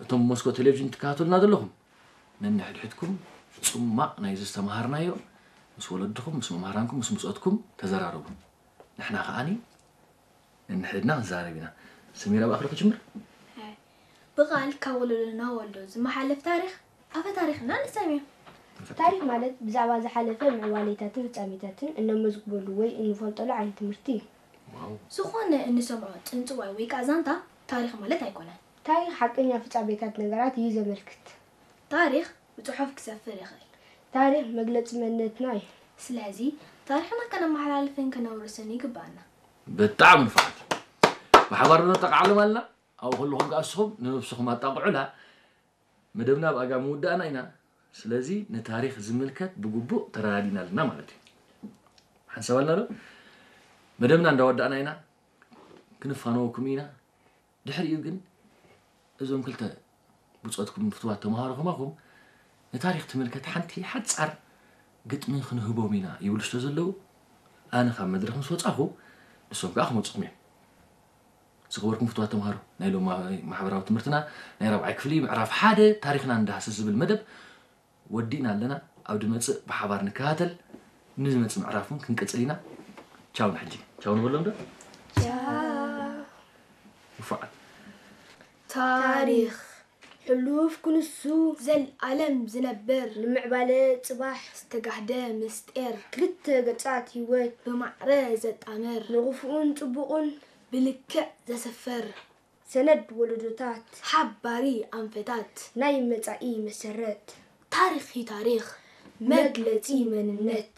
እቶም መስኮት ቴሌቪዥን ትከታተሉና ዘለኹም፣ ነንሕድሕድኩም ጽማቕ ናይዚ ዝተምሃርናዮ ምስ ወለድኹም፣ ምስ መምሃራንኩም፣ ምስ ብጾትኩም ተዘራረቡ። ንሕና ከኣኒ ነንሕድና ክንዛረብ ኢና። ሰሚራ፣ ብኣኽሪ ክጅምር። ብቓል ካብ ወለዶ ናብ ወለዶ ዝመሓለፍ ታሪኽ ኣፈ ታሪኽና ንሰምዮ። ታሪኽ ማለት ብዛዕባ ዝሓለፈ ምዕባሌታትን ፍጻሜታትን እነመዝግበሉ ወይ እንፈልጠሉ ዓይነት ትምህርቲ እዩ። ዝኾነ እንሰምዖ ጽንጽዋይ ወይ ከዓ ዛንታ ታሪኽ ማለት ኣይኮነን። ታሪኽ ሓቀኛ ፍጻሜታት ነገራት እዩ ዘመልክት። ታሪኽ ብጽሑፍ ክሰፍር ይኽእል። ታሪኽ መግለጺ መንነትና እዩ። ስለዚ ታሪኽና ከነመሓላልፍን ከነውርስን ይግባኣና። ብጣዕሚ ንፉዓት። ብሓባር ዶ ነጠቃዕሎም ኣለና? ኣብኡ ከለኹም ከኣ ንስኹም ንነብስኹም ኣጣቕዑላ። መደብና ብኣጋ ምውዳእና ኢና። ስለዚ ንታሪኽ ዝምልከት ብግቡእ ተረዳዲእና ኣለና ማለት እዩ። ሓንሳብ ኣለና ዶ? መደብና እንዳወዳእና ኢና። ክንፋነወኩም ኢና። ድሕሪኡ ግን እዞም ክልተ ብጾትኩም ፍትዋት ተምሃሮ ከማኹም ንታሪኽ ትምልከት ሓንቲ ሓጻር ግጥሚ ክንህቦም ኢና ይብሉ ስለ ዘለዉ፣ ኣነ ካብ መድረኽ ምስ ወጻኹ ንሶም ከኣ ክመጹኹም እዮም። ዝኸበርኩም ፍትዋት ተምሃሮ፣ ናይ ሎም ማሕበራዊ ትምህርትና ናይ ራብዓይ ክፍሊ ምዕራፍ ሓደ ታሪኽና እንዳሃሰስ ዝብል መደብ ወዲእና ኣለና። ኣብ ድመጽእ ብሓባር ንከታተል። ንዝመጽእ ምዕራፍ እውን ክንቅጽል ኢና። ቻው ንሕጂ። ቻው ንበሎም ዶ? ንፉዓት። ታሪኽ ሕሉፍ ክንሱ ዘልኣለም ዝነብር ንምዕባለ ጽባሕ ዝተጋህደ ምስጢር ክልተ ገጻት ህይወት ብማዕረ ዘጣምር ንኽፉኡን ጽቡቕን ብልክዕ ዘስፍር ሰነድ ወለዶታት ሓባሪ ኣንፈታት ናይ መጻኢ መሰረት ታሪኽ እዩ ታሪኽ መግለጺ መንነት